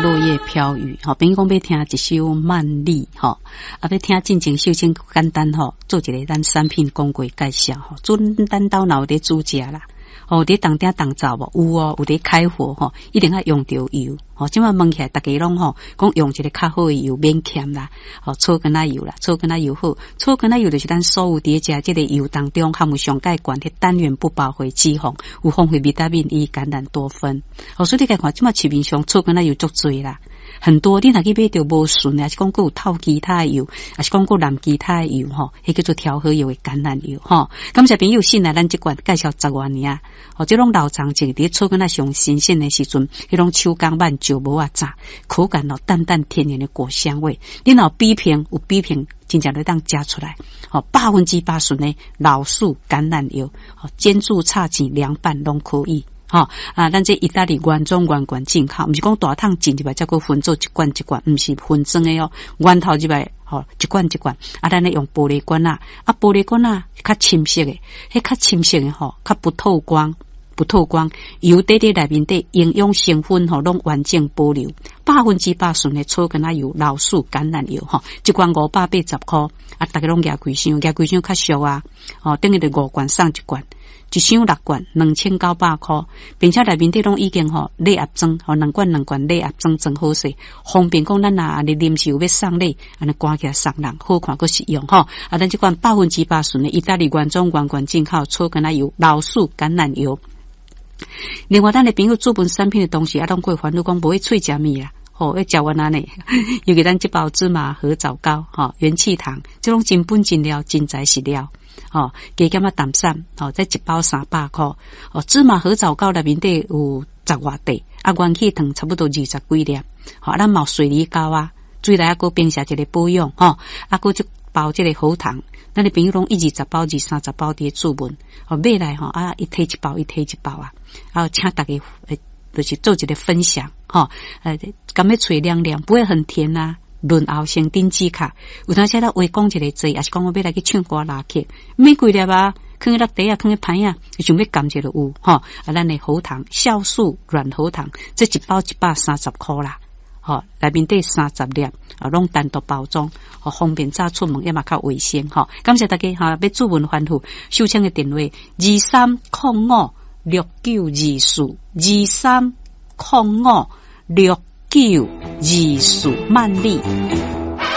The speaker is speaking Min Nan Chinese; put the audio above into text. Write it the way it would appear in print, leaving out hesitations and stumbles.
落葉飄雨，吼，朋友講欲聽一首曼麗，吼，啊，欲聽進前秀清簡單吼，做一个咱產品廣告介紹，吼，準咱兜若有佇煮食啦，吼，佇當鼎當灶無？有哦，有佇開火吼，一定愛用著油，吼，這擺問起來，逐家攏吼講用一个較好的油，免儉啦，吼，草根仔油啦，草根仔油好，草根仔油就是咱所有佇食這个油當中含有上蓋懸彼單元不飽和脂肪，有豐富維他命 E、橄欖多酚，吼，所以你共看，這擺市面上草根仔油足濟啦。很多你若去買著無純的，抑是講閣有透其他的油，抑是講閣摾其他的油吼，彼叫做調和油的橄欖油吼。感謝朋友信賴咱這罐介紹十外年啊，吼，這攏老長種佇草根仔上新鮮的時陣，彼攏手工慢石磨仔榨，口感哦淡淡天然的果香味。你若有比拼有比拼，真正會當食出來，吼，100%純的老樹橄欖油，吼，煎煮炒煎涼拌攏可以。吼啊！咱這意大利原裝原罐進口，毋是講大桶進入來，才閣分做一罐一罐，毋是分裝的哦。源頭入來，吼，一罐一罐。啊，咱咧用玻璃罐仔，啊，玻璃罐仔較深色的，彼較深色的吼，較不透光，不透光。油底佇內面底營養成分吼，攏完整保留，100%純的草根仔油、老樹橄欖油吼，一罐580箍，啊，逐家攏舉幾箱，舉幾箱較俗啊，吼，等於就五罐送一罐。一箱六罐，2900箍，並且內面底攏已經吼禮盒裝，吼兩罐兩罐禮盒裝裝好勢，方便講咱若按呢臨時有欲送禮，按呢趕起來送人，好看閣實用吼。啊，咱這款百分之百純的意大利原裝原罐進口草根仔油、老樹橄欖油。另外，咱的朋友注文產品的同時，啊，攏會煩惱講無愛喙食物啦。吼，欲食完按呢，尤其咱這包芝麻核棗糕，吼，元氣糖，這攏真本真料，真材實料。吼，加減仔淡散，吼，這一包300箍。哦，芝麻核棗糕內面底有十外塊，啊，元氣糖差不多二十幾粒。吼，啊，咱嘛有水梨糕啊，水來啊，閣平時一个保養，吼，啊，閣這包這个喉糖，咱的朋友攏一二十包、二三十包佇咧注文，吼，買來吼，啊，一提一包，一提一包啊，啊，請逐家就是做一个分享，吼，感覺喙涼涼，不會很甜啊。潤喉生頂止咳，有當時咱話講一个濟，抑是講我欲來去唱歌拉曲，免幾粒啊，囥佇落袋仔，囥佇盤仔，想欲含一就有吼。啊，咱的喉糖酵素軟喉糖，這一包130箍啦，吼，內面底三十粒，啊，攏單獨包裝，吼，方便早出門也嘛較衛生，吼。感謝大家哈，欲注文吩咐，秀清的電話二三空五六九二四二三空五六九二四萬里。